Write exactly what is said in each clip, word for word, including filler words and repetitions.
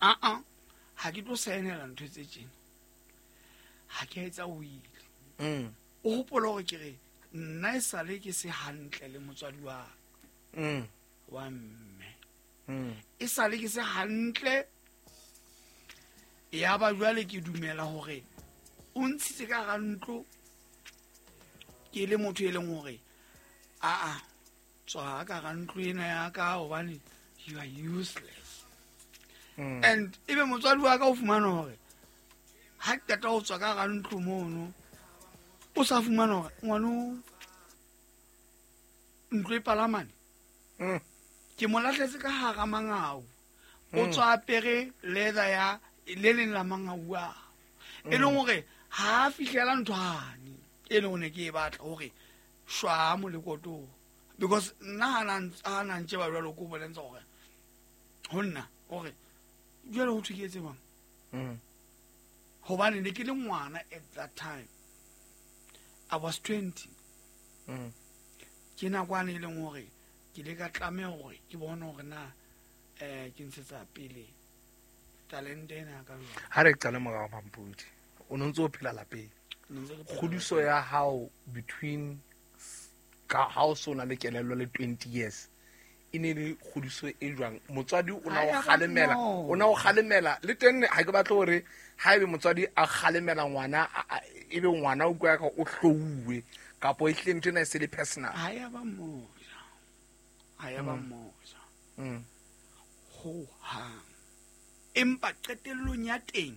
Aa, ha ke tlo saenela ntho tse tjena, ha ke a etsa will. Mm. O hopola hore ke re nna e sale ke se hantle le motswadi wa Mm. wa mme. Mm. E sale ke se hantle, ya ba jwale ke dumela hore o ntshitse ka hara ntlo ke le motho e leng hore aa tswa ka hara ntlo ena ya ka hobane you are useless. Mm. And ebe motswadi wa ka o fumana hore ha ke qeta ho tswa ka hara ntlo mono, o sa fumana hore ngwano ntlo e palamane. Mm. Ke mo lahletse ka hara mangau. O Mm. tswa apere leather ya le leng la mangau a. E leng hore ha a fihlela ntho hane e leng hore ke e batla hore shwa molekoto. Because nna ha na ntse, ha na ntse ba jwalo ko bolentse hore ho nna hore jwale ho thwe ke etse jwang? Mm. Hobane ne ke le ngwana at that time. I was twenty. Mm. Ke nakwane e leng hore ke ile ka tlameha hore ke bone hore na, eh, ke ntshetsa pele talente ena ya ka jwang. Ha re qale morao Mampudi, o no ntse o phela lapeng. Ne ntse ke phela Kgodiso lapeng. ya hao between ka ha o so na le kelello le twenty years e ne le kgodiso e jwang? Motswadi o na Ha o ya ba kgalemela, no. o na o kgalemela le teng ha ke batle hore ha ebe motswadi a kgalemela ngwana, a, a, ebe ngwana o utlwa ka o hlouwe kapo e hlile ntho ena e se le personal. Ha ya ba moja. Ha ya ba Mm. moja. Mm. Ho hang. Empa qetellong ya teng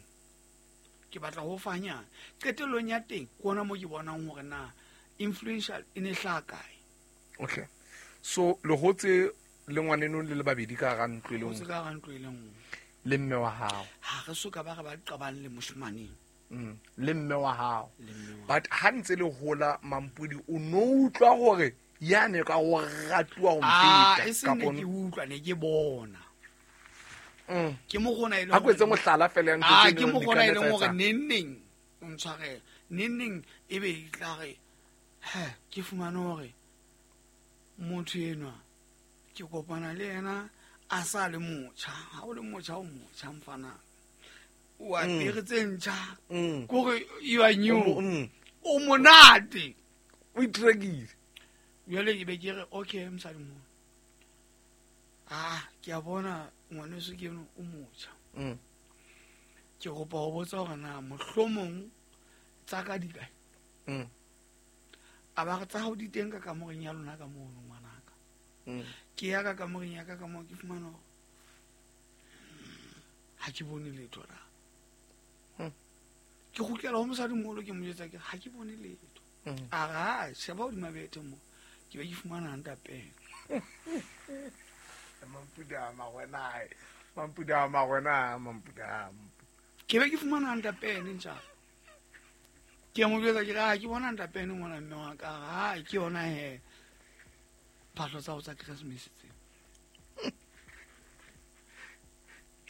ke batla ho fanyana. Qetellong ya teng ke hona moo ke bonang hore na influential e ne hlaha kae. Okay. So le hotse le ngwaneno le le babedi ka hara ntlo e le Hotse nngwe. ka hara ntlo e le nngwe. Le mme wa hao. Ha re so ka ba re ba qabang le moshemaneng. Mm. Le mme wa hao. Le mme wa But ha ntse le hola Mampudi o no utlwa hore yane ka o ratuwa ho Ah, mfeta e seng ne kapo ke utlwa, ne ke bona. Mm. Ke mo gona e leng Ha ko etse hore mohlala fela ya ntho Ah, tse ke neng mo di gona e ka leng hore etsa. neng neng o ntshwarele. Neng neng e be e tla re, he, ke fumane hore motho enwa ke kopana le yena a sa le motjha. Ha o le motjha, o motjha mfana. O apere tse ntjha. Mm. Ke hore you are new. O mo-, mm. O monate. O itrekile. Jwale ke be ke re, okay, mosadi mo. Ah, ke a bona ngwaneso ke eno o motjha. Mm. Ke kopa ho botsa hore na mohlomong tsa ka di kae? Mm. A ba re tsa hao di teng ka kamoreng ya lona ka mono ngwanaka. Mm. Ke ya ka kamoreng ya ka ka moo ke fumana hore ha ke bone letho la. Mm. Ke kgutlela ho mosadimoholo ke mo jwetsa ke re, ha ke bone letho. Mm. A re, ha, sheba hodima bethe mo. Ke be ke fumana ntapeng. Mampudi a magwena, Mampudi a magwena, Mampudi a. Ke be ke fumana ntapeng ntjha. Ke mo jwetsa ke re, ha ke bona ntapeng ngwana mme wa ka. Ha, ke yona he. Phahlo tsa ho tsa Christmas tse.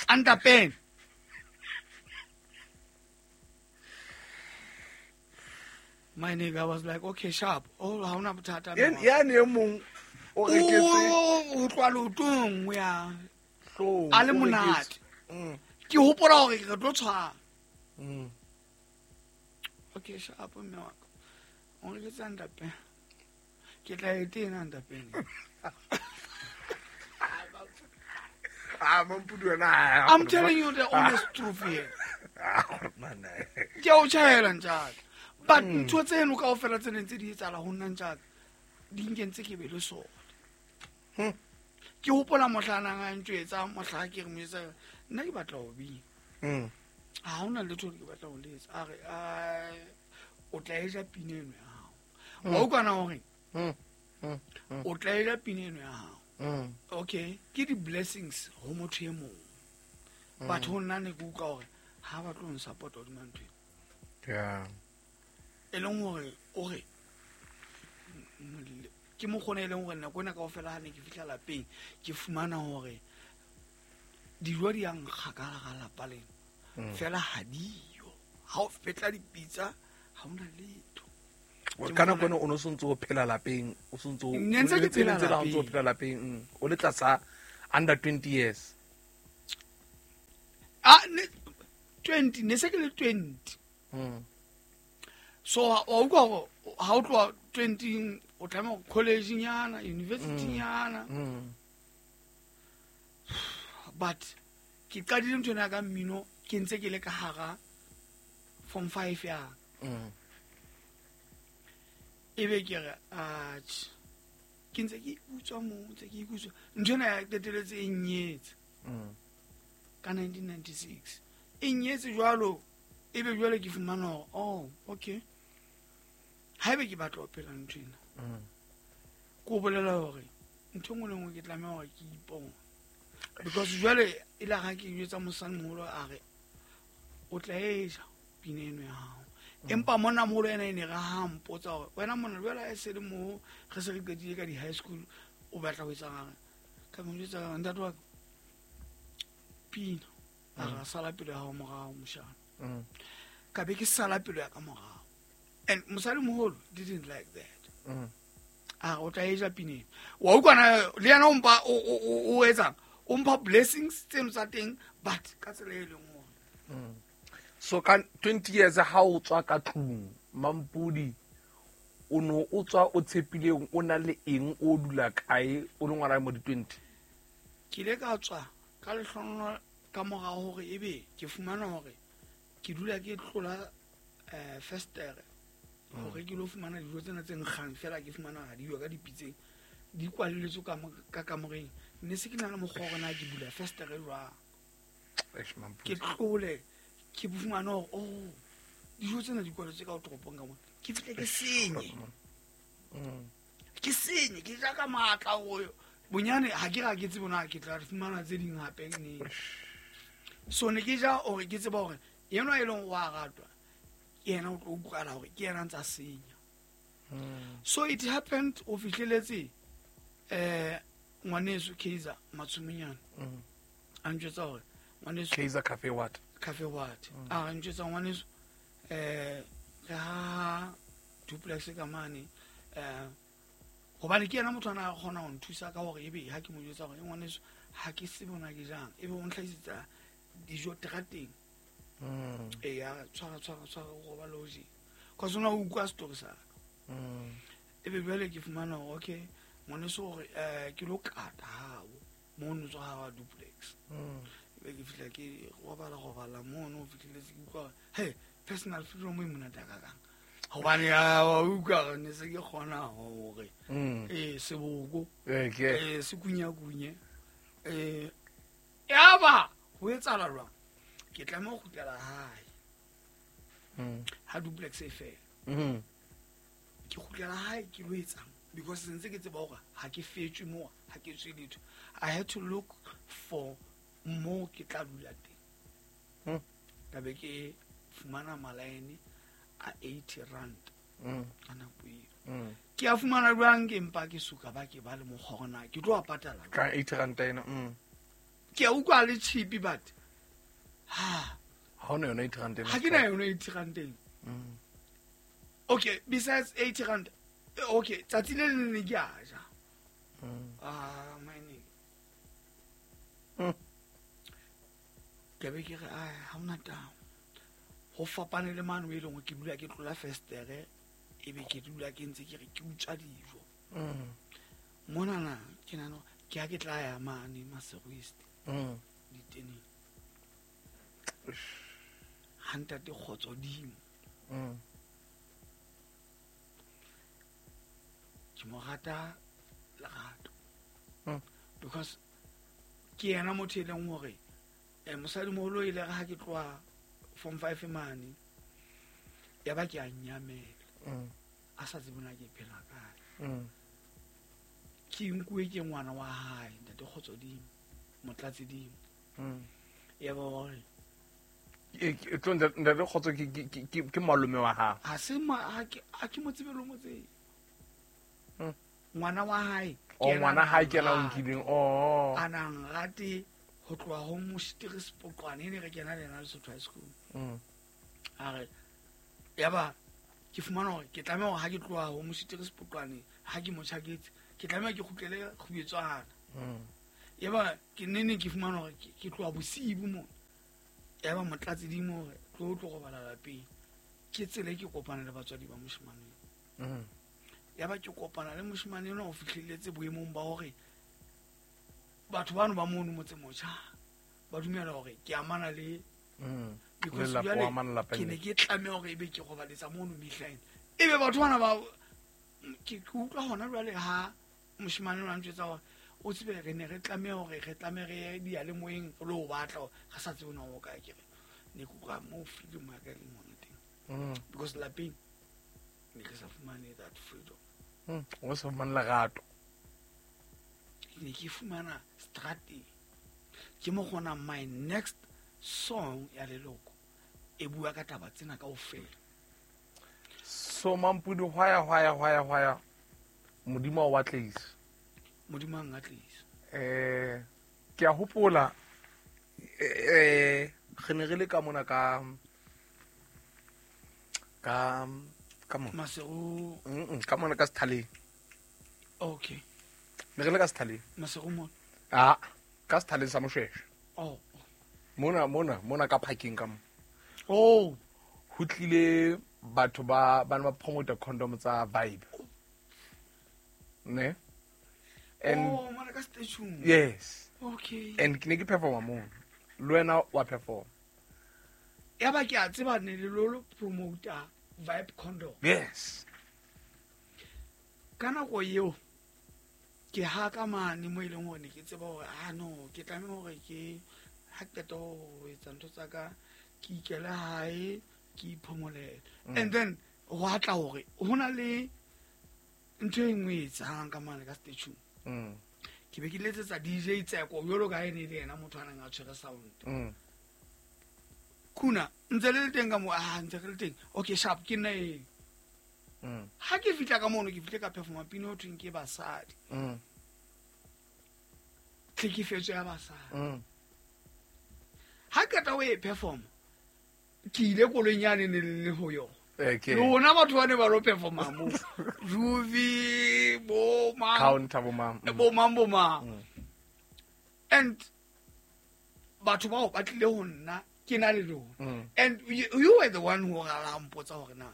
Antapeng. My nigga was like, okay, sharp. Oh, ha hona bothata mme Yen-, wa ka. yane e mong o reketse O, o tloha leotong, o ya. Hloohong, A le o reketse. monate. Mm. Ke hopola hore re tlo tshwana. Mm. Okay, sharp mme wa ka. O reketse ntapeng. Ke tla e tena ntapeng. Ah, Mampudi wena, ah, I'm telling you the honest truth here. Ah, gore man, eh. Ke a o tjhaela ntjaka. But Mm. ntho tseno kaofela tse neng tse di etsahala ho nna ntjaka, di nkentse ke be le sona. Hmm. Ke hopola mohla a nang a ntjwetsa, mohla ke re mo etsa, nna ke batla ho bina. Hmm. Ha hona letho le ke batla ho le etsa. A re, a, o tla e ja pina eno ya hao. Hmm. Wa utlwa na hore? Hmm. Hmm. Hmm. O tla e ja pina eno ya hao. Hmm. Okay, ke di-blessings ho motho e mong. Hmm. Batho ho nna ne ke utlwa hore ha ba tlo nsupport-a hodima ntho eno. Yeah. E leng hore o re, ke mokgona e leng hore nako ena kaofela ha ne ke fihla lapeng, ke fumana hore dijo di a nkga ka hara lapa lena. Mm. Fela ha diyo. Ha o fetla dipitsa, ha hona letho. O Ke ka nako mokgona ena o no sontso o phela lapeng, o sontso o Ne ntse ke o ntse phela ntse le ha o ntso o lapeng. phela lapeng, mm. O le tlasa under twenty years. twenty ne se ke le twenty. Mm. So wa utlwa hore ha o tloha twenty o tlameha college nyana, university nyana. Mm. But ke qadile ntho ena ka mmino ke ntse ke le ka hara form five ya. Mm. Ebe ke re atjhe ke ntse ke ikutswa mo, ntse ke ikutswa. Ntho ena ya qetelletse e nnyetse. Mm. Ka nineteen ninety-six. E nnyetse jwalo, ebe jwale ke fumana hore, oh, okay. Haebe ke batla ho phela ntho ena. Mm. Ke o bolela hore ntho e nngwe le nngwe ke tlameha hore ke ipone. Because jwale e la ha ke jwetsa mosadimoholo a re o tla e ja pina eno ya hao. Empa monna moholo ena e ne re ha mpotsa hore wena monna jwale ha e se le moo re se re qetile ka di-high school o batla ho etsang a re ka mo jwetsa ka ntate wa ka pina a re sala pelo ya hao morao moshana. Mm. Ka be ke sala pelo ya ka morao. And mosadimoholo didn't like that. Mm. A re o tla e ja pina eno. Wa utlwa na le yena o mpa o o o etsang? O mpha blessings tseno tsa teng but ka tsela e leng hore. Mm. So ka twenty years ha o tswa ka tlung Mampudi o no o tswa o tshepileng o na le eng o dula kae o le ngwana mo di twenty? Ke ile ka tswa ka lehlono ka morao hore ebe ke fumana hore ke dula ke tlola eh festere hore ke lo fumana dijo tsena tse nkgang fela ke fumana ha di yo ka dipitseng di kwaleletswe ka ka kamoreng ne se ke na le mokgwa hore na ke bula festere jwang. Eish, Mampudi. Ke tlole ke fumana hore oh dijo tsena di kwaletswe ka toropong ka mona ke fihle ke senye. Mm. Ke senye ke ja ka matla ho bonyane ha ke ra ke tsebe na ke tla fumana tse ding hape neng. So ne ke ja hore ke tseba hore yena e leng wa ratwa ke yena o tlo utlwala hore ke yena ntsa senya. Mm. So it happened o fihleletse eh ngwaneso Kaizer Matsuminyana. Mm. A ntjwetsa hore ngwaneso Kaizer Cafe what? Cafe what? A ntjwetsa ngwaneso eh re ha duplex ka mane eh hobane ke yena motho ana a kgona ho nthusa ka hore ebe ha ke mo jwetsa hore ngwaneso ha ke se bona ke jang ebe o ntlhahisetsa dijo terateng. Mm. E ya tshwara tshwara tshwara go ba loji. Ka sona o utlwa story sa ka. Mm. Ebe jwale ke fumana hore okay ngwaneso hore eh ke lo kata hao mono tswa ha wa duplex. Mm. Ebe ke fihla ke robala robala mono fihleletse ke utlwa hey personal freedom e monate ka kang. Hobane ya wa utlwa ne se ke kgona hore Mm. eh seboko Eh ke eh se kunya kunye eh yaba ho etsahala jwang ke tlameha ho kgutlela hae. Mm. Ha duplex e fela. Mm. Ke kgutlela hae ke lo etsang because sentse ke tseba hore ha ke fetswe mo ha ke tswe letho. I had to look for mo ke tla dula teng. Mm. Ka be ke fumana malaene a eighty rand. Mm. Ka nako eo. Mm. Ke a fumana jwang ke mpa ke suka ba ke ba le mokgwa hore na ke tlo a patala jwang. Ka eighty rand ena. Mm. Ke a utlwa le cheap but ha Ha ona yona eighty rand ena. Ha ke na yona eighty rand ena. Mm. Okay, besides eighty rand okay, tsatsi le leng ne ke a ja. Mm. Ah, my name. Mm. Ke be ke re ai ha ona taba. Ho fapane le mane o e leng hore ke dula ke tlola festere ebe ke dula ke ntse ke re ke utswa dijo. Mm. Monana ke nahana ke ha ke tla ya mane Maseru East. Mm. Diteneng. Ha ntate kgotso dimo. Mm. Ke mo rata lerato. Mm. Because ke yena motho e leng hore eh mosadimoholo ile re ha ke tloha form five mane ya ba ke a nyamela. Mm. A sa tsebe na ke phela kae. Mm. Ke nkuwe ke ngwana wa hae ntate kgotso dimo motlatse dimo. Mm. Ya ba hore E tlo ntate kgotso ke ke ke ke malome wa hao. Ha se ma ha ke ha ke mo tsebe le mo tsebe. Mm. Ngwana wa hae. O ngwana hae ke yena o nkileng. Oh. A nang rate ho tloha ho Mositiri Sepoqwane e ne re kena le yena Lesotho High School. Mm. A re yaba ke fumana hore ke tlameha hore ha ke tloha ho Mositiri Sepoqwane ha ke mo tjhaketse ke tlameha ke kgutlele Kgubetswana. Mm. Yaba ke nene ke fumana hore ke tloha bosibu mona. Ya ba motlatsi dimo hore tlo tlo robala lapeng. Ke tsela e ke kopana le batswadi ba moshemane. Mm. Ya ba ke kopana le moshemane enwa o fihlelletse boemong ba hore batho bano ba mono motse motjha ba dumela hore ke amana le Mm. because Lelapa, jwale o amana lapeng ke ne le. ke tlameha hore ebe ke robaletsa mono mehlaena. Ebe batho bana ba ke ke utlwa hona jwale ha moshemane enwa a ntjwetsa hore o tsebe re ne re tlameha hore re tlameha re ye diyalemoyeng re lo o batla hore re sa tsebe na o kae. Ke re ne ke utlwa moo freedom ya ka e leng hona teng. Mm. Because lapeng ne ke sa fumane that freedom. Mm. O sa fumane lerato. Ke ne ke fumana strateng. Ke mo kgona my next song ya leloko e bua ka taba tsena kaofela. So Mampudi hwaya hwaya hwaya hwaya Modimo wa atlehisa. Modimo a nkatlehisa. Eh ke a hopola eh re ne re le ka mona ka ka ka mona. Maseru. Mm, ka mona ka Sethaleng. Okay. Ne re le ka Sethaleng. Maseru mona. Ah, ka Sethaleng sa Moshweshwe. Oh. Mona mona mona ka parking ka mo. Oh. Ho tlile batho ba ba ne ba promote condom tsa Vibe. Ne? And oh, mona ka station. Yes. Okay. And ke ne ke performa mo. Le wena wa perform. Ya ba ke a tseba ne le lo promoter Vibe condom. Yes. Ka nako eo ke ha ka mane mo e leng hore ne ke tseba hore ah no ke tlameha hore ke ha qeta ho etsa ntho tsa ka ke ikele hae ke iphomolele. Mm. And then ho atla hore ho na le ntho e nngwe e etsang ka mane ka station. Mm. Ke be ke letsetsa D J Tseko jwalo ka ha e ne le yena motho a neng a tshwere sound. Mm. Kuna ntse le le teng ka mo, ah ntse re le teng. Okay sharp ke nna eo. Mm. Ha ke fihla ka mono ke fihle ka performa pina ho thweng ke basadi. Mm. Tlhekefetso ya basadi. Mm. Ha qeta ho e perform ke ile koloing yane ne le le ho yona. Okay. Lona batho ba ne ba lo performa mo. Ruby bo mang. Counter bo mang. Mm. Bo mang bo mang. Mm. And batho bao ba tlile ho nna ke na le lona. Mm. And you, you were the one who ra mpotsa hore na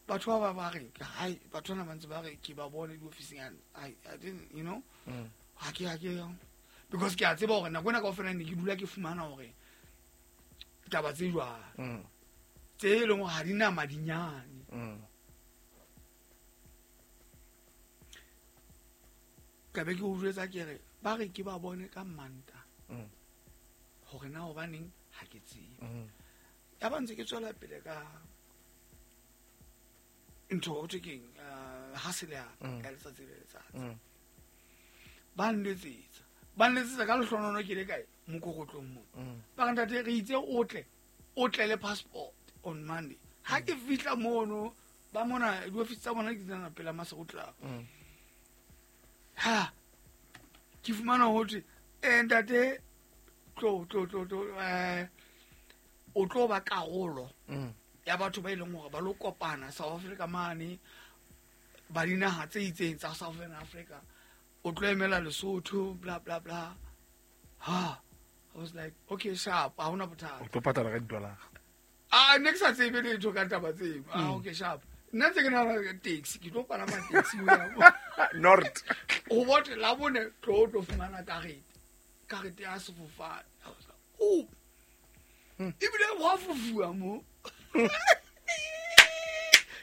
batho ba ba ba re hai batho bana ba ntse ba re ke ba bone di ofising and I I didn't you know. Mm. Ha ke ha ke because ke a tseba hore nako ena kaofela ne ke dula ke fumana hore taba tse jwang. Mm. Tse e leng hore ha di na madinyane. Mm. Ka be ke o jwetsa ke re ba re ke ba bone ka Manta. Mm. Hore na hobaneng ha ke tsebe. Mm. Ya ba ntse ke tswela pele ka ntho ho thwe keng, eh, hustle ya Mm. ya letsatsi le letsatsi. Mm. Ba nletsetsa. Ba nletsetsa ka lehlonono ke le kae mokokotlong mo. Mm. Ba re ntate re itse o tle, o tle le passport on Monday. Ha ke fihla mono ba mona diofisi tsa bona ke tsena pela Maseru Club. Mm. Ha ke fumana ho thwe, eh, ntate tlo, tlo, tlo, tlo, eh, o tlo ba karolo Mm. ya batho ba e leng hore ba lo kopana South Africa mane ba dinaha tse itseng tsa Southern Africa. O tlo emela Lesotho bla bla bla. Ha I was like okay sharp ha hona bothata. O tlo patala ka di-dollar. Ah ne ke sa tsebe letho ka taba tseo. Ah Mm. okay sharp. Nna ntse ke nahana ka taxi ke tlo palama taxi ho ya mo. Nord. Ho botle la bone tlo tlo fumana karete. Karete ya sefofane. I was like oh. Mm. Ebile wa fofuwa mo.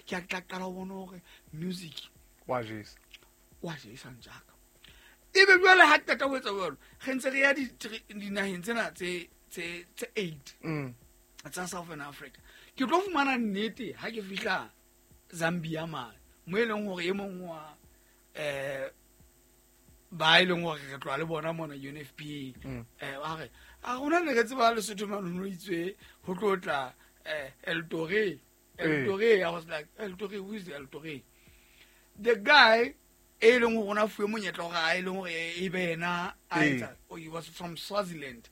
Ke a tla qala ho bona hore music Wa jesa. wa jesa ntjaka. Ebe jwale ha qeta ho etsa jwalo, re ntse re ya di-, dinaheng tsena tse, tse, tse eight Mm. tsa Southern Africa. Ke tlo fumana nnete ha ke fihla Zambia mane, mo e leng hore e mong wa, eh, ba e leng hore re tloha le bona mona U N F P A. Mm. Eh, ba re, a rona ne re tseba Lesotho mane ho itswe ho tlo tla, eh, El Torre. El Eh. Torre, I was like, El Torre, who is El Torre? The guy e leng hore ona fuwe monyetla hore a e leng hore e be yena a Eh. etsa, oh, he was from Swaziland,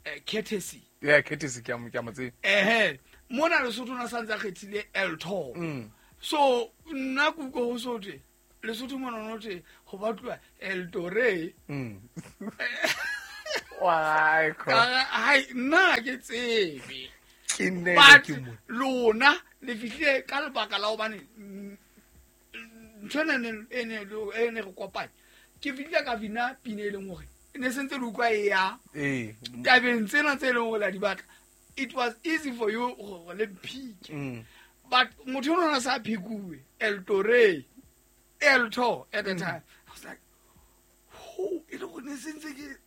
eh, courtesy. Yeah, courtesy ke a mo, ke a mo tseba. Ehe, mona Lesotho na santse a kgethile El Toro. Mm. So nna ke utlwa ho so thwe Lesotho mona no thwe ho batluwa El Torre. Mm. O Why? Hai nna ke tsebe. Ke nne ke mo. Lona le fihlile ka lebaka la hobane ntho ena e ne e ne re kopanya. Ke fihlile ka vina pina e leng hore ne sentse le utlwa e ya. Eh. Tabeng tsena tse leng hore la di batla. It was easy for you gore le pick. Mm. But motho o na sa phikuwe El Torre. El Tor at the mm. time. I was like, "Oh, e le go ne sentse ke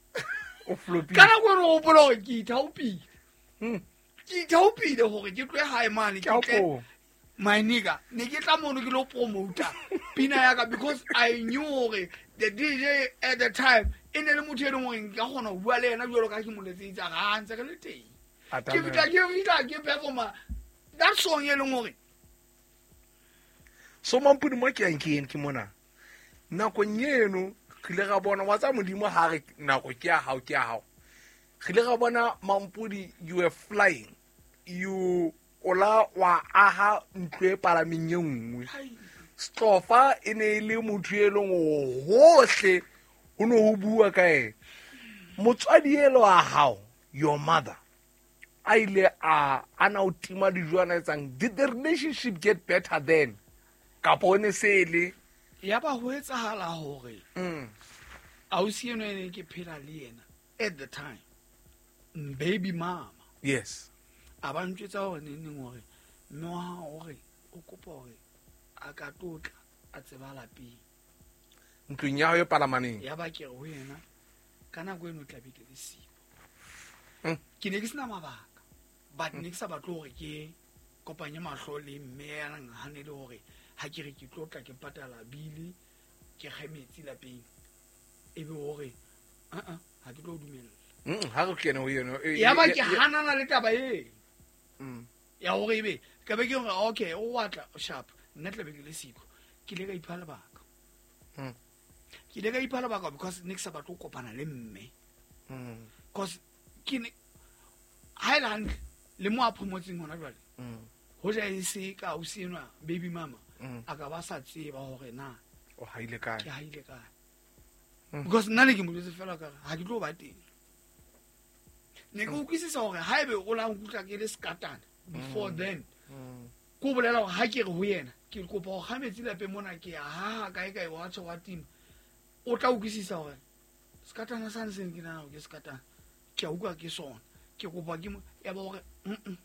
o flopile." Kana go re o hopola hore ke ithaopile. Mm. Ke ithaopile hore ke tlohe hae mane ke tle. My nigga, ne ke tla mono ke lo promoter pina ya ka because I knew hore the D J at the time e ne le motho e leng hore nka kgona ho bua le yena jwalo ka ke mo letseditse ga ntse re le teng. Ke fihla ke fihla ke performa that song e leng hore so Mampudi mo ke yang ke eng ke mona nakong eno re ile ra bona wa tsa Modimo ha re nako ke ya hao ke ya hao re ile ra bona Mampudi you were flying you ola wa aha ntlo e palameng e nngwe Stofa e ne e le motho e leng hohle ho no ho bua ka ena motswadi elo wa hao your mother a ile a ana o tima dijo ana etsang did the relationship get better then kapo o ne se le ya ba ho etsahala hore mm ausi eno e ne ke phela le yena at the time baby mama yes a ba ntjwetsa hore neng neng hore mme wa hao hore o kopa hore a ka tlotla a tseba lapeng ntlong ya hao e palamaneng ya ba ke re ho yena ka nako eno tla be ke le siko mm. ke ne ke sena mabaka but ne ke sa batle hore ke kopanye mahlo le mme ya nang hanele hore ha ke re ke tlotla ke patala bili ke kge metsi lapeng e be hore a a ha ke tlo dumella mm ha re kene ho yena ya ba ke hanana le taba e mm ya hore ebe ka be ke hore okay o batla sharp nna tla be ke le siko ke ile ka ipha lebaka mm ke ile ka ipha lebaka because ne ke sa batle ho kopana le mme mm because ke ne ha ile hantle le mo a promotseng hona jwale mm ho ja e se ka o senwa baby mama mm a ka ba sa tseba hore na o haile kae ke haile kae mm. because nna ne ke mo jwetse fela ka ha ke tlo ba teng ne ke utlwisisa hore haebe o la nkutlwa ke le skatana before mm. then mm. ko bolela hore ha ke re ho yena ke kopa ho kga metsi lapeng mona ke ya ha kae kae wa tjho wa tima o tla utlwisisa hore skatana sa nseng ke nana ke skatana ke a utlwa ke sona ke kopa ke ya ba hore mm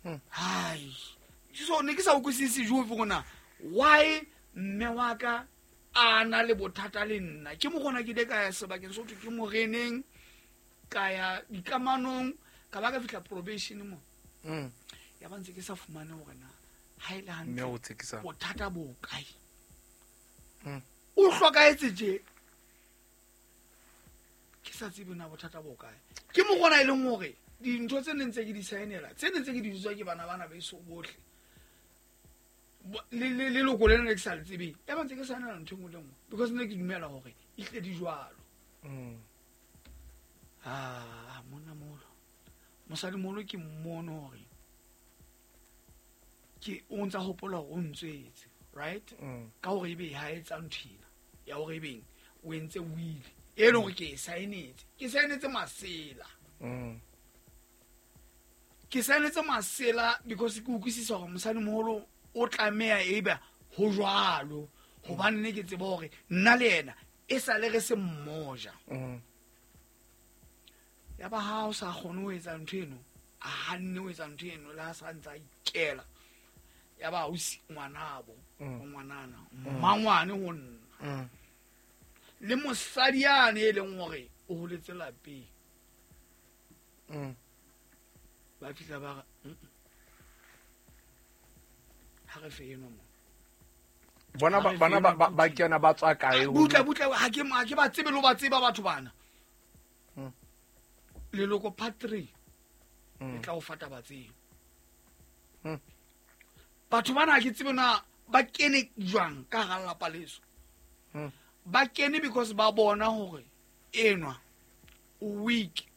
mm hai so ne ke sa utlwisise jo gona why mme wa ka a na le bothata le nna ke mo gona ke ile ka ya sebakeng so ke moreneng ka ya dikamanong ka ba ka fihla probation mo mm ya ba ntse ke sa fumane hore na ha ile mme hantle o tsekisa bothata bo kae mm o hlokaetse je ke sa tsebe na bothata bo kae ke mo gona e leng hore dintho tse neng tse ke di saenela tse neng tse ke di jwetswa ke bana bana beso bohle le le leloko lena le ke sa le tsebeng ya ba ntse ke saenela ntho e nngwe le nngwe because ne ke dumela hore e tle di jwalo mm ah monna molo mosadi molo ke mmono hore ke o ntsa hopola hore o ntswetse right mm ka hore ebe ha etsa ntho ena ya hore ebeng o entse will e leng hore ke e saenetse ke saenetse masela mm ke saenetse masela because ke utlwisisa hore mosadi moholo o tlameha ebe ho jwalo hobane ne ke tseba hore nna le yena e sale re se mmoja mm ya ba ha o sa kgone ho etsa ntho eno a hanne ho etsa ntho eno le ha sa ntsa ikela ya ba ausi ngwanabo Mm. ngwanana mmangwane ho nna mm le mosadi yane e leng hore o holetse lapeng mm ba fihla ba re mm ha re fe eno mo bona ba bana ba ba- ba kena ba tswa kae ho butle butle ha ke ha ke ba tsebe le ho ba tseba batho bana Mm. leloko part three Mm. e tla o fa taba tseo Mm. batho bana ha ke tsebe na ba kene jwang ka hara lelapa leso Mm. ba kene because ba bona hore enwa o weak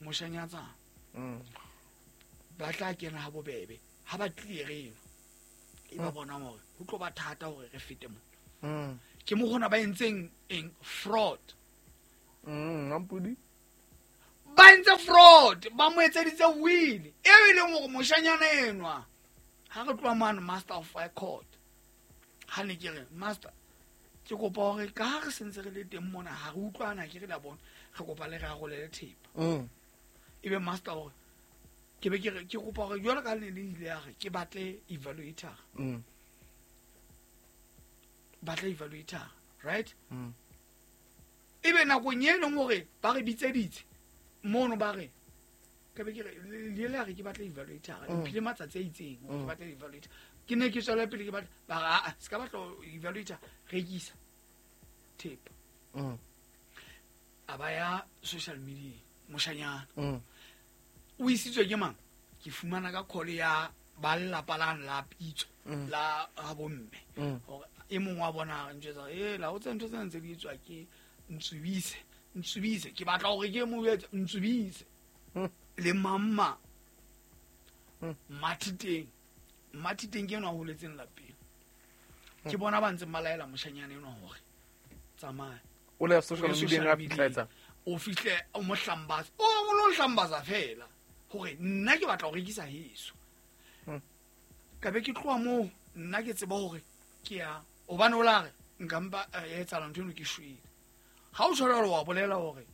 moshanyatsana mm ba tla kena ha bobebe ha ba tlile eno e ba bona hore ho tlo ba thata hore re fete mo mm ke mo gona ba entseng eng fraud Mm, Mampudi. Ba entse fraud, ba mo etseditse will. Eo e leng hore moshanyana enwa ha re tloha mane master of high court. Ha ne ke re master ke kopa hore ka ha re sentse re le teng mona ha re utlwana ke re la bona re kopa le re arolele thepa. Mm. Ebe master hore ke be ke re ke kopa hore jwalo ka le ne le ile ya re ke batle evaluator. Mm. Batle evaluator, right? Mm. Ebe nakong e leng hore ba re bitseditse mono ba re ke be ke re le le re ke batla evaluator Mm. mphile matsatsi a itseng hore Mm. ke batla evaluator ke ne ke tswela pele ke batla ba re a se ka batla evaluator rekisa thepa Mm. a ba ya social media moshanyana Mm. o isitswe ke mang ke fumana ka call ya ba lelapa la la pitso Mm. la ha bomme Mm. hore e mong wa bona a ntjwetsa e la o tse ntho tsena ntse di etswa ke Ntsubise Ntsubise ke batla hore ke mo jwetse Ntsubise Mm. le mamma Mm. Mathiteng Mathiteng ke enwa a holetseng lapeng ke bona ba ntseng ba laela moshanyana enwa hore tsamaya O le social O ye media social a media. fihla etsa. O fihle o mo hlambatsa o o lo hlambatsa fela hore nna ke batla ho rekisa heso Mm. ka be ke tloha moo nna ke tseba hore ke ya hobane o la re nka mpa eh, ya etsahala ntho eno ke shwele ha o tshwara hore wa bolela hore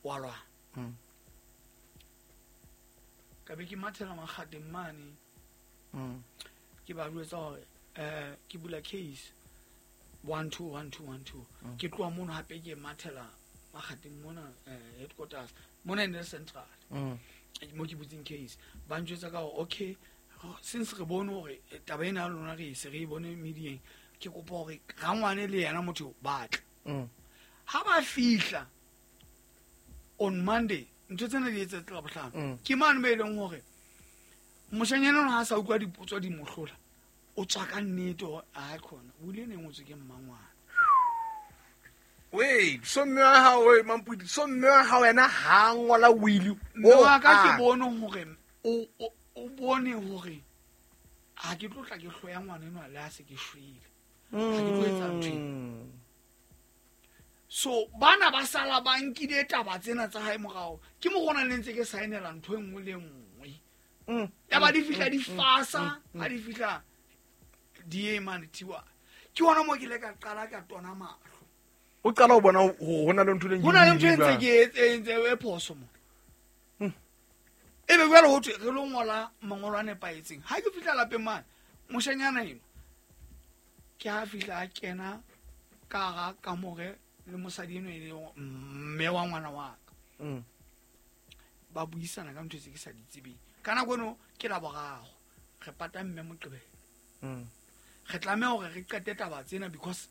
wa lwana Mm. ka be ke mathela makgateng mane Mm. ke ba jwetsa hore eh ke bula case one two one two one two Mm. ke tloha mono hape ke mathela makgateng mona eh, headquarters mona e ne le central Mm. mo ke butseng case ba njwetsa ka hore okay since re bone hore eh, taba ena ya lona re se re e bone medieng ke kopa hore rangwane le yena motho ba tle Mm. ha ba fihla on Monday ntho tsena di etsetse la bohlano Mm. ke mane mo e leng hore moshanyana ona ha sa utlwa dipotso di mo hlola o tswa ka nnete hore a khona o ile ne ngotswe ke mmangwana Wait, so mme wa hao we Mampudi, so mme wa hao yena ha ngola will. mme wa ka ke bone hore o o- o bone hore ha ke tlo tla ke hloya ngwana enwa le ha se ke shwele ha ke tlo etsa ntho ena. Mm. So bana ba sala ba nkile taba tsena tsa hae morao ke mo gona le ntse ke saenela ntho e nngwe le nngwe Mm. ya ba di fihla di fasa ha di fihla di e mane thiwa ke hona mo ke ile ka qala ka tona mahlo O qala ho bona hore ho na le ntho e leng ho na le ntho e ntse ke e ntse e phoso mo ebe jwale ho thwe re lo ngola mangolo a nepahetseng ha ke fihla lapeng mane moshanyana eno ke ha fihla a kena ka hara kamore le mosadi eno e leng mme wa ngwana wa ka Mm. ba buisana ka ntho tse ke sa di tsebeng ka nako eno ke la boraro re pata mme Moqebelo Mm. re tlameha hore re qete taba tsena because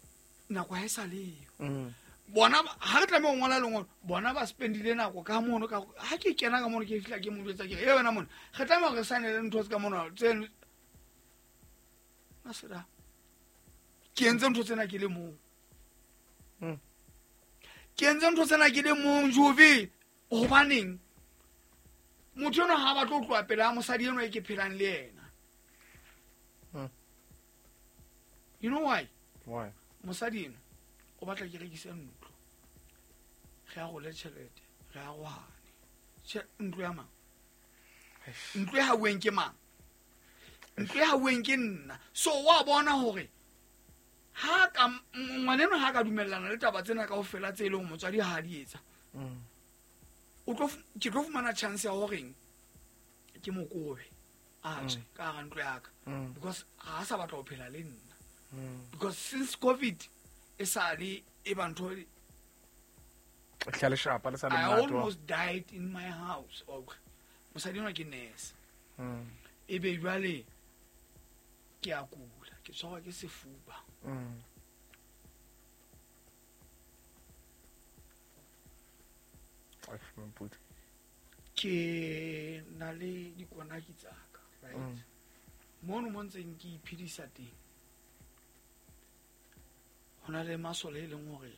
nako ha e sa leyo Mm. bona ba- ha re tlameha ho ngola lengolo bona ba spendile nako ka mono ka ha ke kena ka mono ke fihla ke mo jwetsa ke re e wena mona re tlameha hore re saenele ntho tse ka mono tse maseda ke entse ntho tsena ke le mong Mm. ke entse ntho tsena ke le mong Jove hobaneng motho enwa ha batlo ho tloha pele ha mosadi enwa e ke phelang le yena Mm. you know why Why? mosadi eno o batla ke rekise ntlo re arole tjhelete re arohane Tjhe- ntlo ya mang ntlo e hauweng ke mang ntlo e hauweng ke nna so wa bona hore ha ka ngwaneno ha ka dumellana le taba tsena kaofela tse e leng motswadi ha di etsa Mm. o tlo fu- ke tlo fumana chance ya horeng ke mokobe a tswe ka hara ntlo ya ka Mm. because ha a sa batla ho phela le nna Mm. because since covid e sale e ba ntho Hla leshapa le sa le I monate wa- almost died in my house okay mosadi enwa ke nurse Mm. ebe jwale ke a kula ke tshwarwa ke sefuba Mm. Eish, Mampudi. ke na le dikonaki tsa ka right Mm. mono mo ntseng ke iphedisa teng ho na le masole e leng hore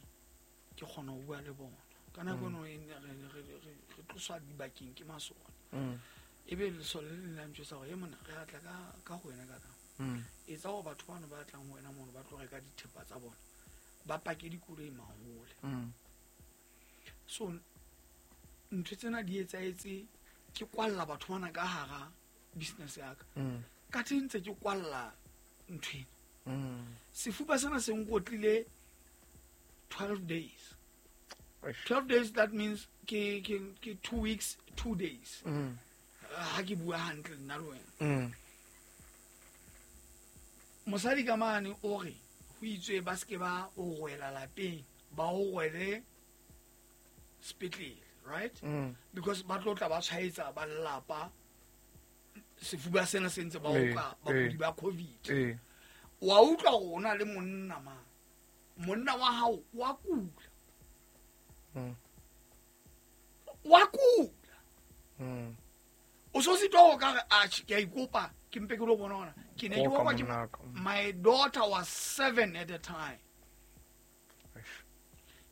ke kgona ho bua le bona ka nako eno e ne re re- re- re tloswa dibakeng ke masole Mm. ebe lesole le leng la ntjwetsa hore e mona re atla ka ka ho wena ka ka Mm. etsa hore batho bano ba tlang ho wena mono ba tlo reka dithepa tsa bona ba pake dikoloi mahole Mm. So ntho tsena di etsahetse ke kwalla batho bana ka hara business ya ka. Ka teng ntse ke kwalla ntho ena. Sefuba sena se nkotlile twelve days. twelve days, that means ke ke ke two weeks, two days. Ha ke bua hantle nna le wena. Mosadi ka mane o re ho itswe ba se ke ba o rwela lapeng, ba o rwele sepetlele, right? Because ba tlo tla ba tshwaetsa ba lelapa sefuba sena se ntse ba oka bakudi ba COVID. Wa utlwa hore o na le monna ma. Monna wa hao wa kula. Wa kula. O so sitwa ho ka re atjhe ke a ikopa ke mpe ke lo bona hona. Ke ne ke bona ke my daughter was seven at the time.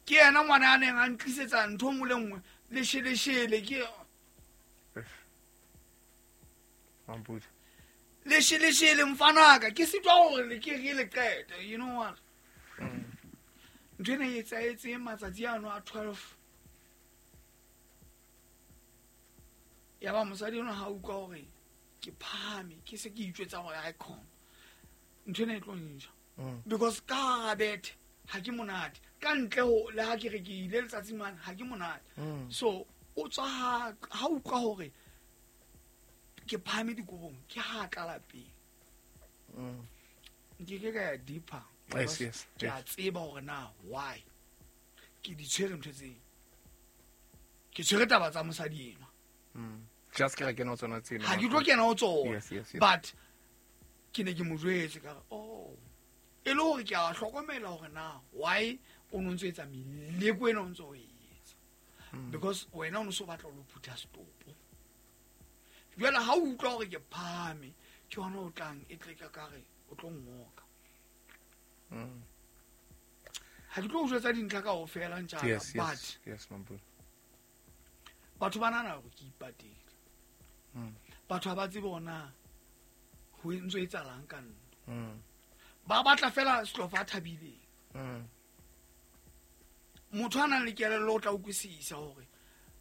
Ke yena ngwana a neng a ntlisetsa ntho nngwe le nngwe lesheleshele ke Mampudi. Lesheleshele mfanaka ke sitwa hore le ke re le qete, you know what? Ntho ena e etsahetse matsatsi ano a twelve. Ya ba mosadi ona ha utlwa hore ke phahame ke se ke itjwetsa hore ha khona. Ntho ena e tlo nja. Because ka hara bethe ha ke monate. Ka ntle ho le ha ke re ke ile letsatsi mane ha ke monate. So o tswa ha ha utlwa hore ke phahame dikobong ke ha tla lapeng. Nke ke ka ya deeper. Yes, yes. Ke a tseba hore na why ke di tshwere ntho tseo. Ke tshwere taba tsa mosadi enwa. Just ke re kena ho tsona tseno. Ha ke tlo kena ho tsona. Yes, yes, yes. But ke ne ke mo jwetse ka re oh e le hore ke a hlokomela hore na why o no ntso etsa meleko ena o ntso o etsa. Because wena o no so batla ho phutha setopo. Jwale ha o utlwa hore ke phahame ke hona o tlang e tle ka ka re o tlo ngoka. Ha ke tlo o jwetsa dintlha kaofela ntjaka, Yes, but yes, yes, Mampudi. Batho ba nahana hore ke ipatile. Batho ha ba tsebe hore na ho ntso etsahalang ka nna. Ba batla fela Slofa a thabileng. Motho a nang le kelello o tla utlwisisa hore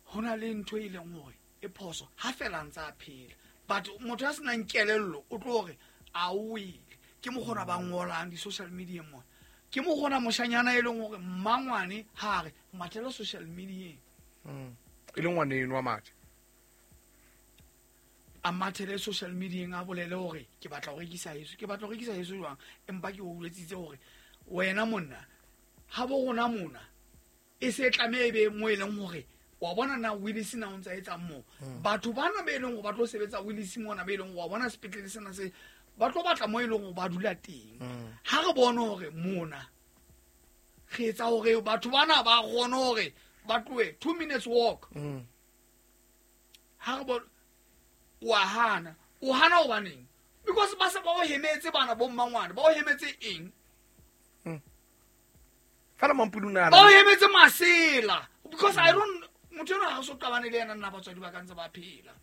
ho na le ntho e leng hore e phoso ha fela ntse a phela. But motho a senang kelello o tlo hore a o wele. Ke mokgona ba ngolang di-social media mona. Ke mokgona moshanyana e leng hore mmangwane ha re mathela social media. E le ngwana eno wa mathe. A mathele social media a bolele hore ke batla ho rekisa heso, ke batla ho rekisa heso jwang, empa ke o boletsitse hore wena monna ha bo rona mona e se tlameha e be mo e leng hore wa bona na Willis na o ntsa etsang moo. Batho bana be leng hore ba tlo sebetsa Willis mona be leng hore wa bona sepetlele sena se ba tlo batla mo e leng hore ba dula teng. Ha re bone hore mona re etsa hore batho bana ba kgone hore ba tlohe two minutes walk. Ha re bone wa hana, o hana hobaneng? Because ba se ba o hemetse bana bo mmangwane, ba o hemetse eng? Fela Mampudi o nahana Ba o hemetse masela. Because I don't motho enwa ha o so qabane le yena nna batswadi ba ka ntse ba phela.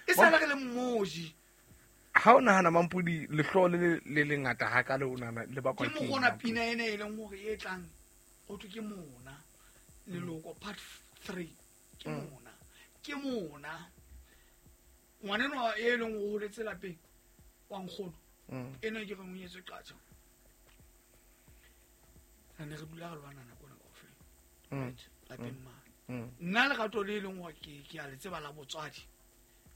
E sala re le mmoji. Ha o nahana Mampudi lehloho le le lengata hakalo o nahana le bakwa Ke ke eng, mokgona Mampudi? pina ena e leng hore e tlang ho thwe ke mona leloko part three ke mona ke mona ngwana enwa e leng hore o holetse lapeng wa nkgono ena ke re o nyetswe qatjha. Re ne re dula re lwana nako ena kaofela. Right? Lapeng mane. Nna lerato le leng hore ke ke a le tseba la botswadi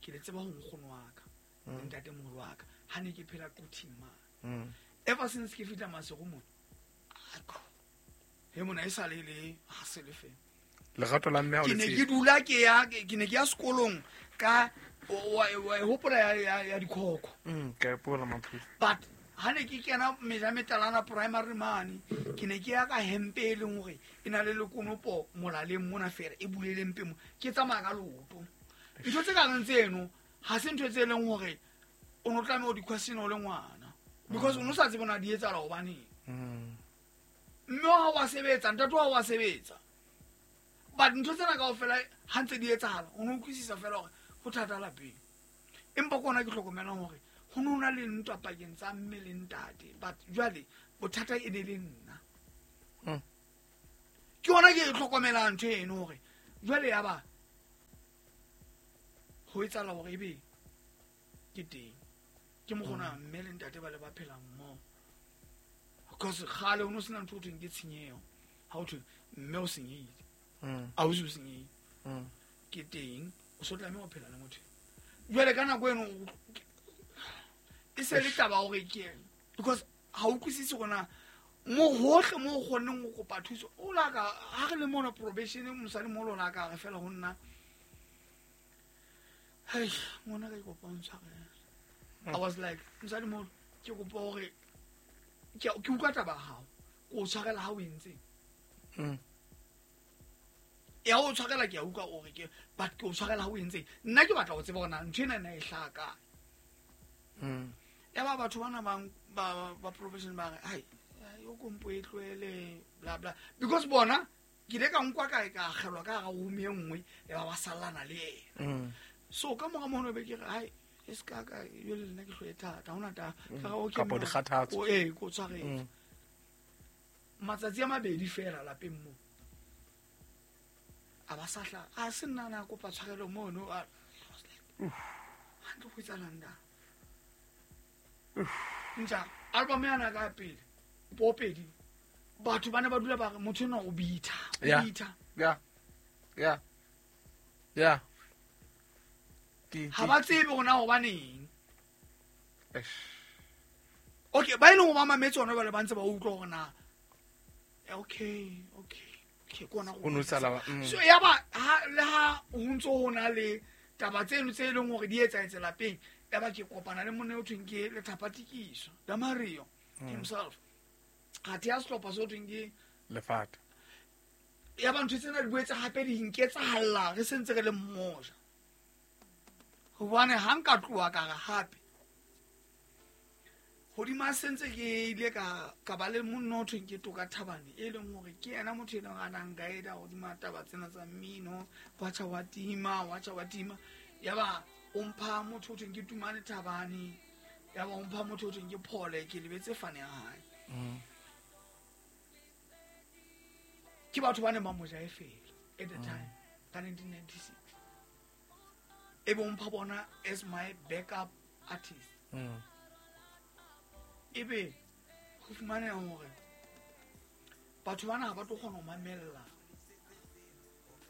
ke le tseba ho nkgono wa ka le ntatemoholo wa ka ha ne ke phela Quthing mane. Ever since ke fihla Maseru mona, akho he mona e sa le le ha se le fela. Lerato la mme ha o Ke le ne tsebe. ke dula ke ya, ke ne ke ya sekolong ka wa wa hopola ya ya ya dikhokho. Mm, ke a ipola Mampudi. But ha ne ke kena Mejametalana primary mane, ke ne ke ya ka hempe e leng hore e na le lekonopo molaleng mona fela e bulele mpe mo. Ke tsamaya ka leoto. Ntho tse kareng tseno ha se ntho tse leng hore o no tlameha ho di question o le ngwana. Because o no sa tsebe na di etsahala hobaneng. Mme wa hao wa sebetsa, ntate wa hao wa sebetsa. But ntho tsena kaofela ha ntse di etsahala, o no utlwisisa fela hore ho thata lapeng. Empa ke hona ke hlokomelang hore ho no na le ntwa pakeng tsa mme le ntate. But jwale bothata e ne le nna. Ke yona ke e tlhokomelang ntho eno hore jwale ya ba ho etsahala hore ebe ke teng. Ke mokgona mme le ntate ba le ba phela mmoho. Because kgale ho no sena ntho ho thweng ke tshenyeho. Ha ho thwe mme o senyehile. Ausi o senyehile. Ke teng o so tlameha ho phela le motho. Jwale ka nako eno e se le taba hore ke because ha o utlwisise hore na mo hohle mo o kgonneng ho kopa thuso o la ka ha re le mona probation mosadi mo lona ka re fela ho nna hei ngwana ka ke kopa o ntshwarele. I was like mosadi mo ke kopa hore ke ke utlwa taba ya hao ke o tshwarela ha o entse ya o tshwarela ke a utlwa hore ke but ke o tshwarela ha o entse nna ke batla ho tseba hore na ntho ena na e hlaha kae. Ya ba batho bana ba ba ba probation ba re hai yo kompo e tlohele bla bla because bona ke ile ka nkwa kae ka akgelwa ka hara room e nngwe ya ba ba sallana le yena. So ka mora mono be ke re hai e se ka ka jwale le nna ke hloye thata ha hona taba. Ka re okay Kapa dikgathatso. O eh ko tshwaretse. Matsatsi a mabedi fela lapeng moo. A ba sa hla a se nna na kopa tshwarelo mono. I was like hantle ho etsahalang da. Ntja album yana ka pele popedi batho ba ne ba dula ba re motho ena o bitha o bitha. Yeah. Yeah. Yeah. Ke ha ba tsebe hore na hobaneng. Eish. Okay ba ile ho ba mametse hona jwale ba ntse ba utlwa hore na okay okay okay ke ona O no sala ba so ya ba ha le ha ho ntso ho na le taba tseno tse leng hore di etsahetse lapeng ya ba ke kopana le monna o thweng ke Lethapatikiso Damario himself ha thea sehlopha se ho thweng ke Lefata ya ba ntho tsena di boetse hape di nketsahalla re sentse re le mmoja hobane ha nka tloha ka re hape hodima sentse ke ile ka ka ba le monna o thweng ke Toka Thabane e leng hore ke yena motho e leng a nang guide hodima taba tsena tsa mmino wa tjha wa tima wa tjha wa tima ya ba o mpha motho o thweng ke Tumane Thabane ya ba o mpha motho o thweng ke Phole ke lebetse fane ya hae. Ke batho ba neng ba mo jaefela at the time ka nineteen ninety-six e be o mpha bona as my backup artist. Ebe ho fumaneha hore batho bana ha ba tlo kgona ho mamella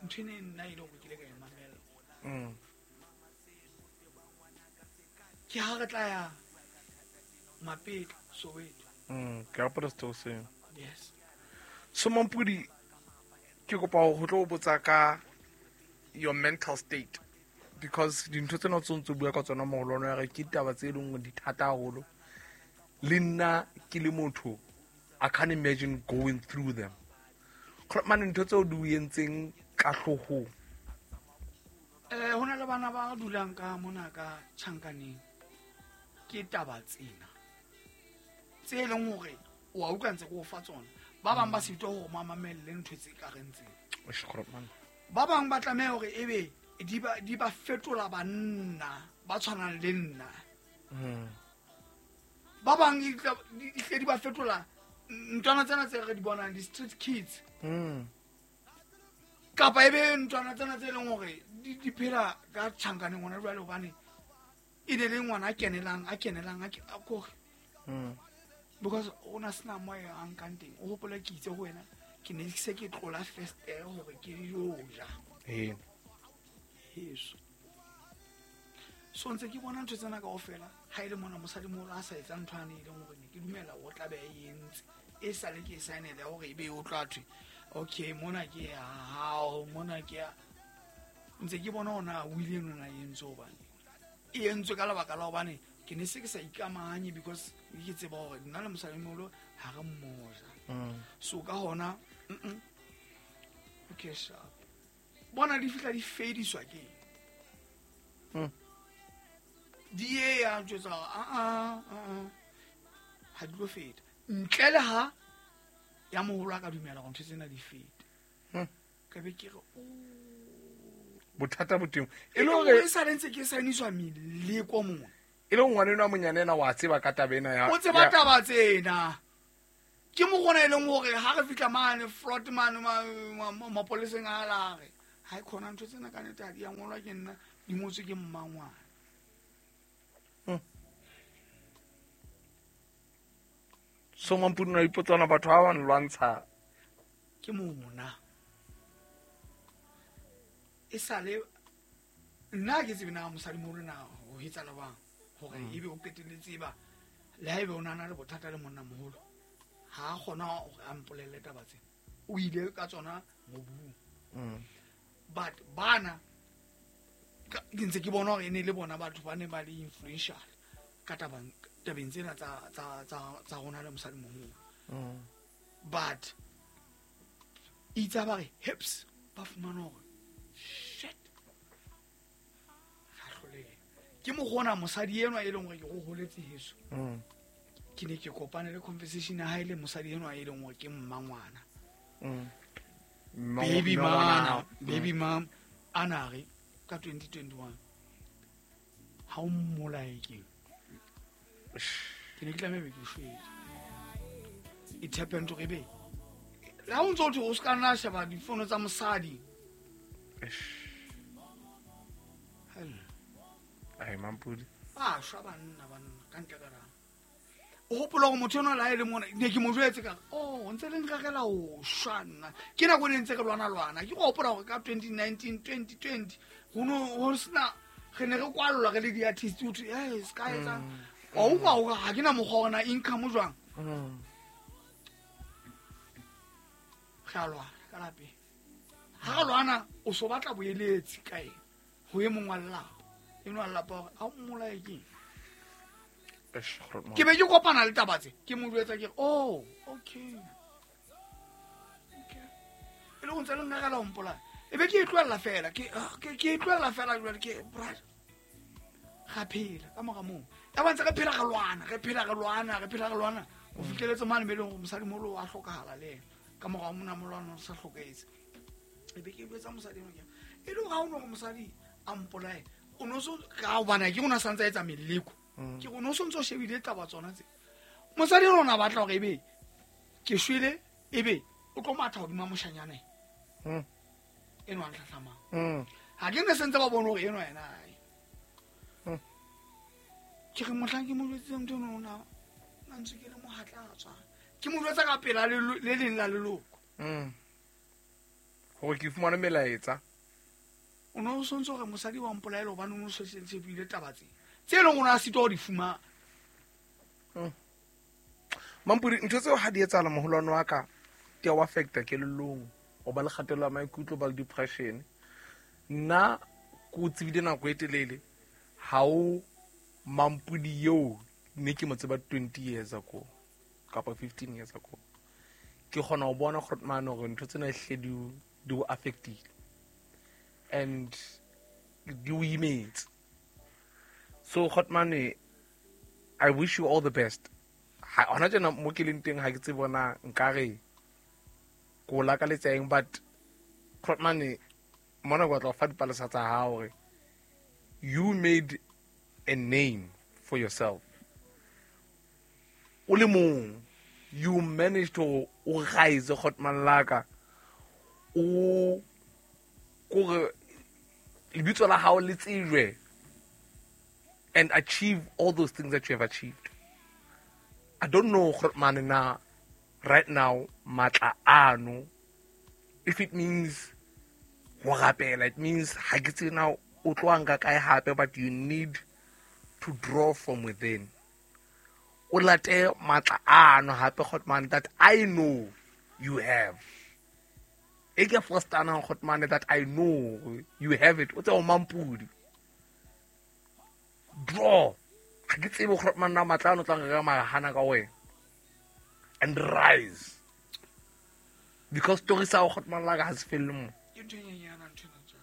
ntho ena e nna e le hore ke ile ka e mamella. Ke ha re tla ya Mapetla Soweto. Mm, ke hopola setho seo. Yes. So Mampudi ke kopa ho tlo botsa ka your mental state because dintho tsena tse ntse bua ka tsona moholo ya re ke ditaba tse leng hore di thata haholo. Le nna ke le motho I can't imagine going through them. Mane ntho tseo di o entseng ka hloohong. Eh hona le bana ba dulang ka mona ka tjhankaneng ke taba tsena tse leng hore o a utlwa ntse ke o fa tsona. Ba bang ba sitwa hore ba mamelle ntho tse ka reng tsena. Ba bang ba tlameha hore ebe di ba di ba fetola banna ba tshwanang le nna. Ba bang di tle di ba fetola ntwana tsena tse re di bonang di street kids. Kapa ebe ntwana tsena tse leng hore di di phela ka tjhankaneng hona jwale hobane e ne le ngwana a kenelang a kenelang a kore. Because o na sena mo a nkang teng o hopola ke itse ho wena ke ne se ke tlola first air hore ke yo ja. Eh. Heso. So ntse ke bona ntho tsena kaofela ha ile mona mosadi moholo a sa etsa ntho ane e leng hore ne ke dumela o tla be a entse e sale ke sign-ele hore ebe o tla thwe okay mona ke ya hao mona ke ya ntse ke bona ona o ile nona e entse hobane e entswe ka lebaka la hobane ke ne se ke sa ikamahanye because ke tseba hore nna le mosadi moholo ha re mmoja. So ka hona mm okay sharp bona di fihla di fediswa ke mm di e ya jwetsa a a a ha di lo feta ntle le ha ya moholo a ka dumela hore ntho tsena di fete. Ka be ke re o bothata bo teng e le hore e sa ntse ke signiswa meleko mona e le ngwana enwa monyane ena wa tseba ka taba ena ya o tseba taba tsena Ke mo gona e leng gore ha re fihla mane fraud mane mapoleseng a lare ha e khona ntho tsena ka nete ha di a ngolwa ke nna di ngotswe ke mmangwana. So Mampudi no ipotsana batho ba ba nlwantsha ke mona e sale nna ke tsebe na mosadi mo rena ho etsala bang hore ebe o qetelletse ba le haebe o nana le bothata le monna moholo ha kgona hore a mpolelle taba tsena o ile ka tsona mobung. But bana ke ntse ke bona hore e ne le bona batho ba ne ba le influential ka taba tabeng tsena tsa tsa tsa tsa rona le mosadi moholo. But itsa ba re hips ba fumana hore shit ga hlolehe ke mo gona mosadi enwa e leng hore ke go holetse heso. Ke ne ke kopane le conversation ya hae le mosadi enwa e leng hore ke mmangwana. Baby mama, baby mom anare ka twenty twenty-one ha o mmolae ke ke ne ke tlameha be ke shwele. It happened to ebe le ha o ntso o se ka nna sheba difono tsa mosadi. Ai Mampudi a shwa banna banna ka ntle ka rang o hopola hore motho enwa le ha e le mona ne ke mo jwetse ka oh ntse le nrerela ho shwa nna ke nako ne ntse re lwana lwana ke go hopola hore ka twenty nineteen twenty twenty ho no ho sena re ne re kwallwa re le di-artist ho thwe eh se ka etsang wa utlwa hore ha ke na mokgwa wa na income jwang re a lwana ka lapeng ha re lwana o so batla boeletsi kae ho e mong wa lelapa enwa lelapa hore ha o mmolae keng ke be ke kopana le taba tse ke mo jwetsa ke re oh okay okay e le go ntse le nrerela ho mpolaya e be ke e tlohella fela ke ke e tlohella fela jwale ke brother ga phela ka mora moo ya ba ntse re phela re lwana re phela re lwana re phela re lwana o fihleletse mane be leng hore mosadi moholo wa hlokahala le ena ka mora mona molwana o sa hlokahetse e be ke jwetsa mosadi enwa ke e le hore ha o no hore mosadi a mpolaye o no so ka hobane ke ona santse a etsa meleko ke go no sontso shebile taba tsona tse mosadi rona batla hore ebe ke shwele ebe o tlo matha hodima moshanyana mm eno a tlhahlamang mm ha ke ne sentse ba bone hore eno yena ai ke re mohlang ke mo jwetse ntho eno ona na ntse ke le mohatla tswa ke mo jwetsa ka pela le le leng la leloko mm hore ke fumane melaetsa o no sontso hore mosadi wa mpolaela hobane o no sentse buile taba tse tse leng ona sitwa ho di fumana. Mampudi ntho tseo ha di etsahala moholwane wa ka di a o affecta kelellong o ba le kgatello ya maikutlo ba le depression. Nna ke o tsebile nako e telele ha o Mampudi eo ne ke mo tseba twenty years ago kapa fifteen years ago ke kgona ho bona gore mane hore ntho tsena hle di di o affectile and di o imetse. So Khotmane, I wish you all the best. Ha hona tjena mo ke leng teng ha ke tsebe bona nkare ko lakaletsa eng but Khotmane mona go tla fa dipalesa tsa hao hore you made a name for yourself. O le mong you managed to o rise Khotmane laka o kore lebitso la hao le tsejwe and achieve all those things that you have achieved. I don't know Khotmane na right now matla ano if it means ho rapela it means ha ke tsena o tlo nka kae hape but you need to draw from within. O late matla ano hape Khotmane that I know you have. E ke first ana Khotmane that I know you have it. O tse o Mampudi draw ga ke tsebe gore manna matla ano tla re mara hana ka wena and rise because story sa go man la ga se felle mo ke ntho e nyenyana ntho ena tsa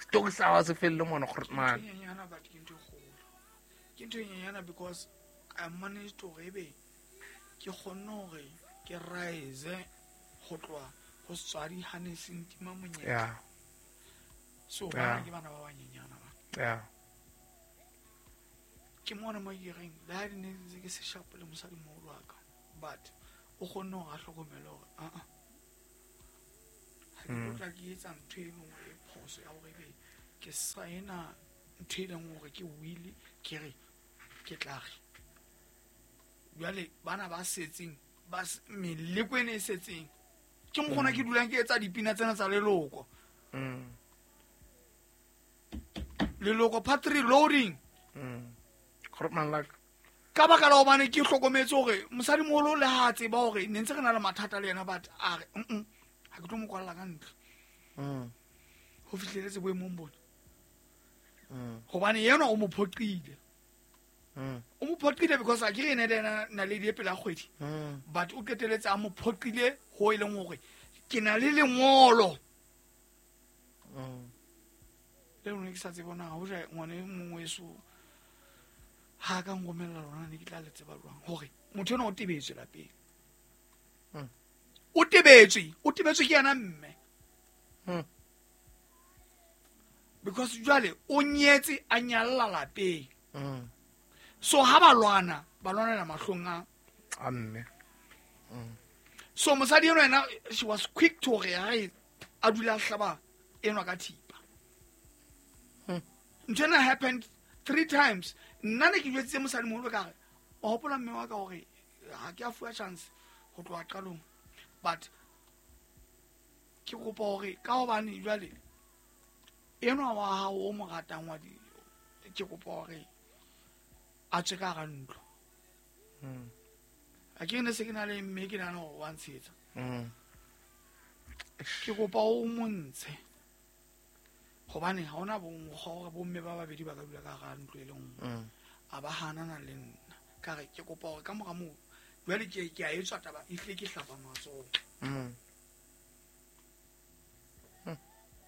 story sa ga se felle mo gore man ke nyenyana but ke ntho e kgolo ke ntho e nyenyana because I managed to ebe ke kgonne hore ke rise go tloha ho setswadi ha ne se ntima monyetla yeah so bana ke bana ba banyenyana ba yeah ke mona mo ke reng le ha ne ntse ke se sharp le mosadi moholo wa ka but o kgonne hore a hlokomele hore aa ha ke tlo tla ke etsa ntho e leng hore e phoso ya hore ebe ke saena ntho e leng hore ke will ke re ke tla re jwale bana ba setseng ba meleko ene e setseng ke mokgona ke dulang ke etsa dipina tsena tsa leloko. Mm. Leloko part three loading. Mm. Grootman like ka baka la hobane ke hlokometse hore mosadimoholo le ha a tseba hore ne ntse re na le mathata le yena, but a re mm ha ke tlo mo kwalla ka ntlo. Mm. Ho fihleletse boemong bona. Mm. Hobane yena o mo phoqile. Mm. O mo phoqile because a ke re ene le yena naledi e pela kgwedi. Mm. But o qeteletse a mo phoqile ho e leng hore ke na le lengolo. Mm. Le lona ke sa tsebe na hoja ngwana e mongwe eso ha ka nromella lona ne ke tla le tseba jwang hore motho ena o tebetswe lapeng. Mm. O tebetswe, o tebetswe ke yena mme. Mm. Because jwale o nyetse a nyalla lapeng. Mm. So ha ba lwana, ba lwanela mahlong a a mme. Mm. So mosadi eno yena she was quick to hore ha a dula a hlaba enwa ka thipa. Mm. Ntho ena happened three times. Nna ne ke jwetsitse mosadimoholo ka re o hopola mme wa ka hore ha ke a fuwa chance ho tloha qalong, but ke kopa hore ka hobane jwale enwa wa hao o mo ratang wa di ke kopa hore a tswe ka hara ntlo. Mm. A ke ne se ke na le mme ke nahana hore wa ntshetsa. Mm. Ke kopa o mo ntshe hobane ha hona mokgwa hore bomme ba babedi ba ka dula ka hara ntlo e le nngwe. Mm. A ba hanana le nna ka re ke kopa hore ka mora moo jwale ke ke a etswa taba e hle ke hlapa matsoho. Mm.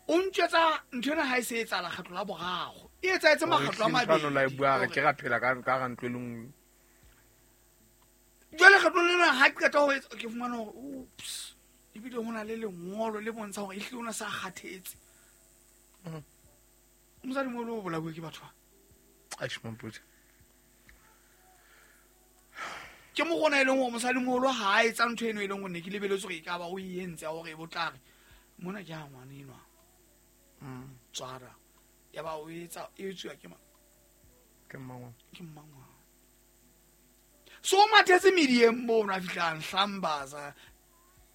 O ntjwetsa ntho ena ha e se etsahala kgetlo la boraro. E etsahetse makgetlo a mabedi. La e bua re ke ra phela ka ka hara ntlo e le nngwe. Jwale kgetlo lena ha ke qeta ho etsa ke fumana hore oops ebile ho na le lengolo le bontsha hore ehlile o na sa kgathetse. Mm. Mosadimoholo o bolauwe ke batho ba. Eish, Mampudi. Ke mo gona e leng hore mosadimoholo ha a etsa ntho eno e leng hore ne ke lebeletse hore e ka ba o e entse ya hore e bo tla re mona ke ha ngwana enwa. Mm. Tswara. Ya ba o etsa e etsuwa ke mang? Ke mmangwana. Ke mmangwana. So o mathetse medieng mono a fihla a nhlambaza.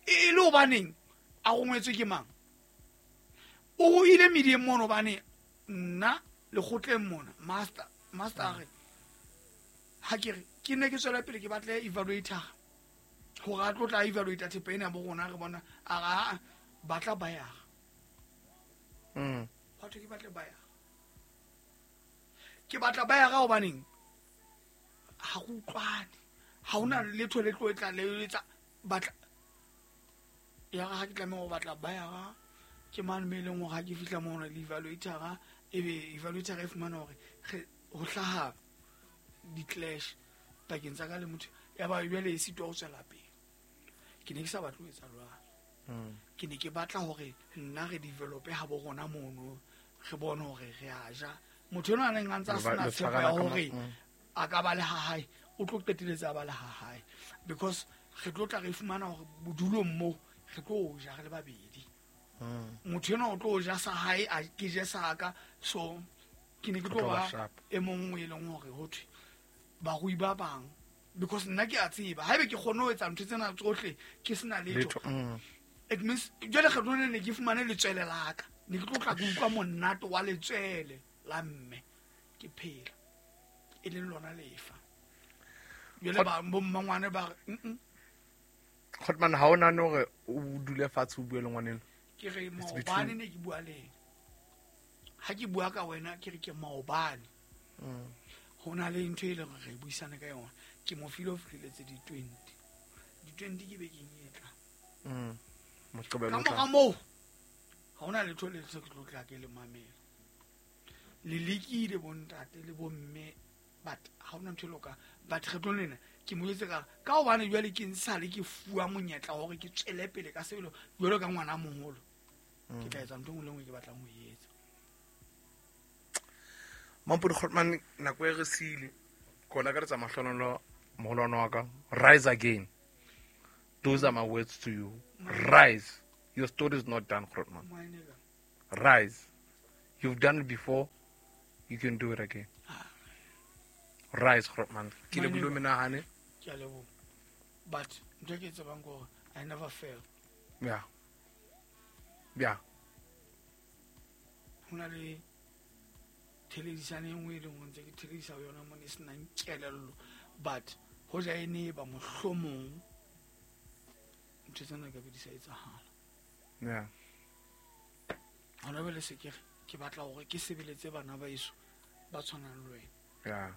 E le hobaneng a rongwetswe ke mang? O ile medieng mono hobane nna lekgotleng mona master master a re ha ke re ke ne ke tswela pele ke batle evaluator hore a tlo tla evaluate thepa ena bo rona re bona a re a batla buyer. Mm. Batho ke batle buyer. Ke batla buyer hobaneng ha go utlwane. Ha hona letho le tlo e tla le etsa batla ya ha ke tlameha ho batla buyer ke mane me leng hore ha ke fihla mono le evaluator ebe evaluator e fumana hore ho hlaha di-clash pakeng tsa ka le motho ya ba jwale e sitwa ho tswela pele. Ke ne ke sa batle ho etsa jwalo. Mm. Ke ne ke batla hore nna re develope ha bo rona mono re bone hore re a ja. Motho enwa a neng a ntse a sena tshepo ya hore a ka ba le ha hae o tlo qeteletse a ba le ha hae because re tlo tla re fumana hore bodulong moo re tlo ja re le babedi. Mm. Motho enwa o tlo ja sa hae a ke je sa ka, so ke ne ke tlo ba e mong e leng hore ho thwe barui ba bang because nna ke a tseba haebe ke kgone ho etsa ntho tsena tsohle ke sena letho. It means jwale kgetlo le ne ke fumane letswele la ka ne ke tlo tla ke utlwa monate wa letswele la mme ke phela e leng lona lefa. Jwale ba bo mmangwane ba re mm. Grootman ha o nahane hore o dule fatshe o bue le ngwaneno? Ke re maobane ne ke bua le ena. Ha ke bua ka wena ke re ke maobane. Mm. Ho na le ntho e leng hore re buisane ka yona. Ke mo file ho fihleletse di-twenty. Di-twenty ke bekeng e tlang. Mm. Moqebelo Ka o tlang. mora moo ha hona letho le se ke tlo tla ke le mamela. Le lekile bontate le bomme but ha hona ntho e loka. But kgetlong lena ke mo jwetse ka ka hobane jwale ke nsale ke fuwa monyetla hore ke tswele pele ka sebelo jwalo ka ngwana moholo. Ke tla etsa ntho e nngwe le nngwe ke batlang ho e etsa. Mampudi Grootman nako e re siile. Ke o lakaletsa mahlonolo moholwane wa ka. Rise again. Those are my words to you. Rise. Your story is not done, Grootman. My nigga. Rise. You've done it before. You can do it again. Rise, Grootman. Ke My lebohile nigga. menahane. Ke a leboha. But ntho e ke e tsebang ke hore I never fail. Yeah. Yeah. Ho na le theledisane e nngwe e leng hore ntse ke theledisa ho yona mona e senang kelello. But hoja e ne e ba mohlomong ntho tsena ka be di sa etsahala. Yeah. Hona jwale se ke re ke batla hore ke sebeletse bana ba heso ba tshwanang le wena. Yeah.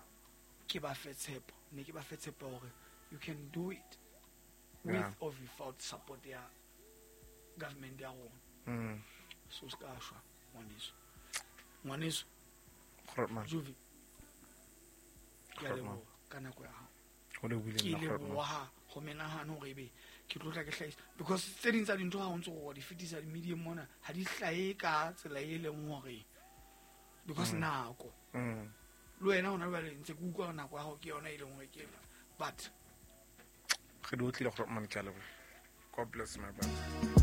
Ke ba fe tshepo. Ne ke ba fe tshepo hore you can do it with Yeah. or without support ya government ya rona. Mm. So se ka shwa ngwaneso. Ngwaneso Grootman. Juvi. Ke a Grootman. leboha ka nako ya hao. Ho lebohile Ke nna, Grootman. leboha ho menahano hore ebe ke tlo tla ke hlahisa because tse ding tsa dintho ha o ntso o di fetisa di-medium mona ha di hlahe ka tsela e leng hore because nako Mm. le wena hona jwale ntse ke utlwa hore nako ya hao ke yona e leng hore ke ena. But Re di otlile, Grootman, ke a leboha. God bless my brother.